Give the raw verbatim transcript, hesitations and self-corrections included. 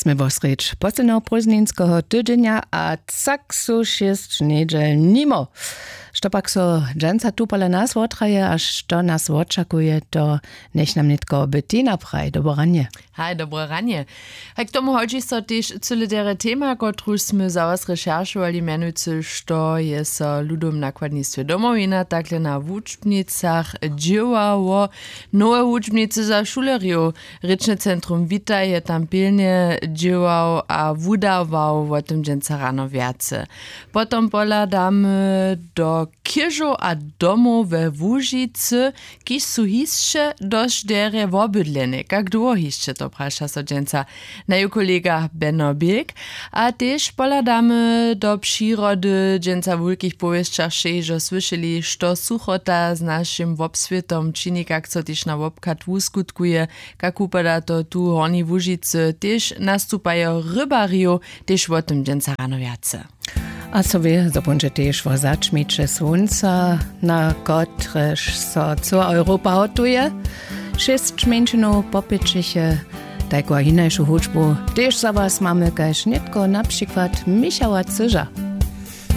Smy wosrjedź posledneho prózdninskeho tydźenja a cak su šěsć njedźel nimo. Što pak so dźensa tu pola nas wotraje a što nas wočakuje, to njech nam nětko Bettina praj. Dobre ranje. Haj, dobre ranje. Haj, k tomu hodźi so tež cyle derje tema, kotruž smy za was rešeršowali, mjenujcy što je so w ludowym nakładnistwje Domowina takle na wučbnicach dźěłało. Nowe wučbnicy za šulerjow. Rěčne centrum Witaj je tam pilnje dźěłał a wudawał. Wo tym dźensa rano wjace. Potom pohladamy do chěžow a domow we Łužicy, kiž su hišće dosć derje wobydlene. Kak dołho hišće, to praša so dźensa naju kolega Beno Bilk. A tež pohladamy do přirody. Dźensa w wulkich powěsćach sće hižo słyšeli, što suchota z našim wobswětom čini, kak so tež na wobchad wuskutkuje, kak wupada to tu w Hornjej Łužicy, tež nastupajo rybarjow, tež wo tym dźensa rano wjace. A so wě, zo póńdźe tež wo začmiće słónca, na kotrež so cyła Europa hotuje. Šěsć mjeńšinow popjećiće. Tajku a hinašu hudźbu tež za was mamy kaž nětko, na přikład Michała Cyža.